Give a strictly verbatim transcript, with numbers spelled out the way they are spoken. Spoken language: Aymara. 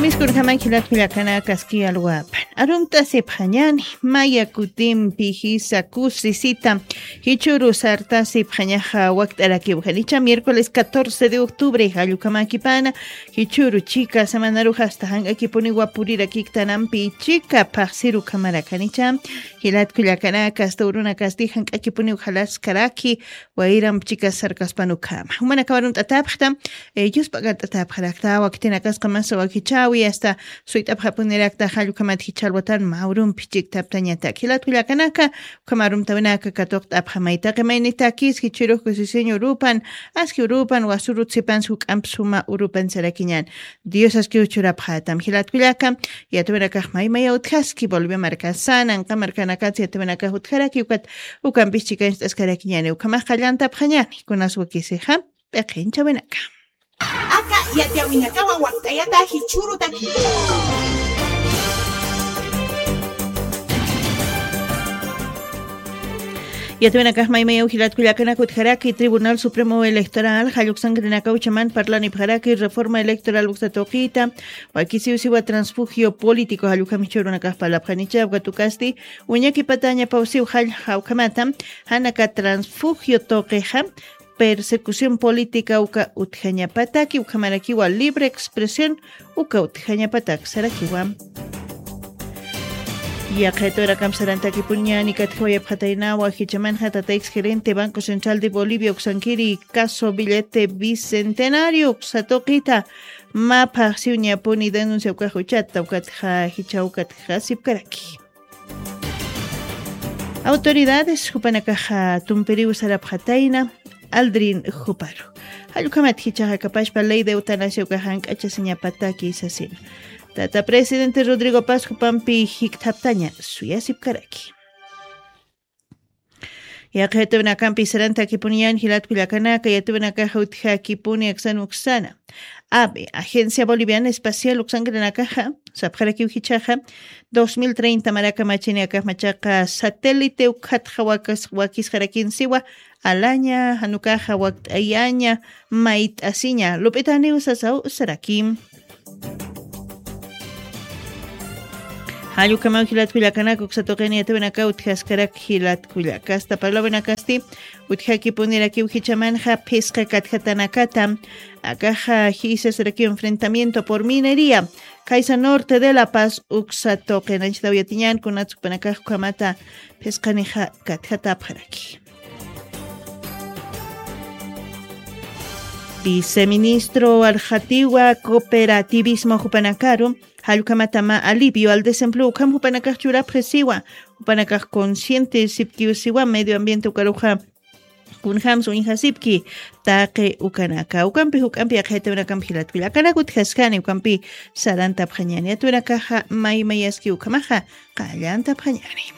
Miskurjamañ jilat kullakanakaski alwapan. Arumt'asipxañani, maya kutimpi jisa kusisita, jichhüru sartasipxañaxa wakt'arakiw janicha, miércoles catorce de octubre, jallukhamakipana, jichhüru chika semanarux asta jank'akipuniwa purirakiktanampi chika phaxsirukhamarakhanicha, jilat kullakanaka, asta urunakasti jank'akipuniw jalaskaraki, wayramp chika sarkaspan ukhama. Jumanakaw arumt'atapxta, eh, yuspagart'atapxarakta, wakitinakasqa mas wakichäwi, asta suyt'apxapunirakta, jallukhamat jichha alwatan mä urumpi chiktaptañatak. Jilat kullakanaka, ukham arumtawinaka katuqt'apxamay. Taqi maynitakis jichhürux kusisiñ urupan, aski urupan, wasürut sipans juk'amp suma urupan sarakiñan. Dios askiw churapxätam. Jilat kullaka, yatawinakax maymaya utjaski, Bolivia markasan, anqa markanakats yatawinakax utjaraki, ukat ukampis chikañcht'askarakiñani, ukhamax qallantapxañani, kunas wakisixa, p'iqinchawinaka. Aka yatiyawinakawa wakt'ayata jichhürutaki. Yatawinakax maymayaw jilat kullakanaka utjaraki, Tribunal Supremo Electoral jalluksankirinaka uchaman parlanipxaraki reforma electoral uksa tuqita, wakisiw siwa transfugio político, jallukham jichhürunakax parlapxanicha, ukat ukasti uñakipatañapaw siw jall jawkhamata, janaka transfugio tuqixa, persecución política uka utjañapataki, ukhamarakiwa libre expresión uka utjañapatak sarakiwa. Yaqha yatawinakamp sarantakipuniñani katjawayapxataynawa, jichhamanxa tata ex gerente Banco Central de Bolivia uksankiri caso billete bicentenario uksa tuqita, mä phaxsiw ñapuni denuncia ukax uchata, ukatxa jichha ukatxa sipkaraki. Autoridades jupanakaxa tumpiriw sarapxatayna, Aldrin juparu. Jallukhamat jichhaxa kapachpa ley de eutanasia ukax jank'achasiñapataki sasina. Tata presidente Rodrigo Paz jupampi jikthaptaña suyasipkaraki. Yaqha yatawinakampi sarantakipuniñan jilat kullakanaka, yatawinakaxa utjakipuni aksan uksana. ABE, Agencia Boliviana Espacial uksankirinakaxa, sapxarakiw jichhaxa, dos mil treinta maraka machini akax machaqa satélite ukhatxa wakas-, wakisxarakin siwa, alaña, jan ukaxa wakt'ayaña, mayt'asiña, lup'itaniw sasaw sarakim. Jallukamaw jilat kullakanaka, uksa tuqini yatawinaka utjaskarak jilat kullaka. Asta parlawinakasti utjakipunirakiw jichhamanxa phisqa katjatanakata, akaxa jisasarakiw enfrentamiento por minería, Caiza Norte de La Paz uksa tuqin. Anchitaw yatiñan kunats jupanakax ukhamata phisqanixa katjatapxaraki. Viceministro Arjatiwa Cooperativismo jupanakaru, jallukhamata mä alivio al desempleo ukham jupanakax churapxi siwa, jupanakax consciente sipkiw siwa, medio ambiente ukaruxa kunjams uñjasipki, taqi ukanaka. Ukampi juk'ampi yaqha yatawinakamp jilat kullakanaka utjaskani, ukampi sarantapxañani. Yatawinakaxa maymayaski ukhamaxa qallantapxañani.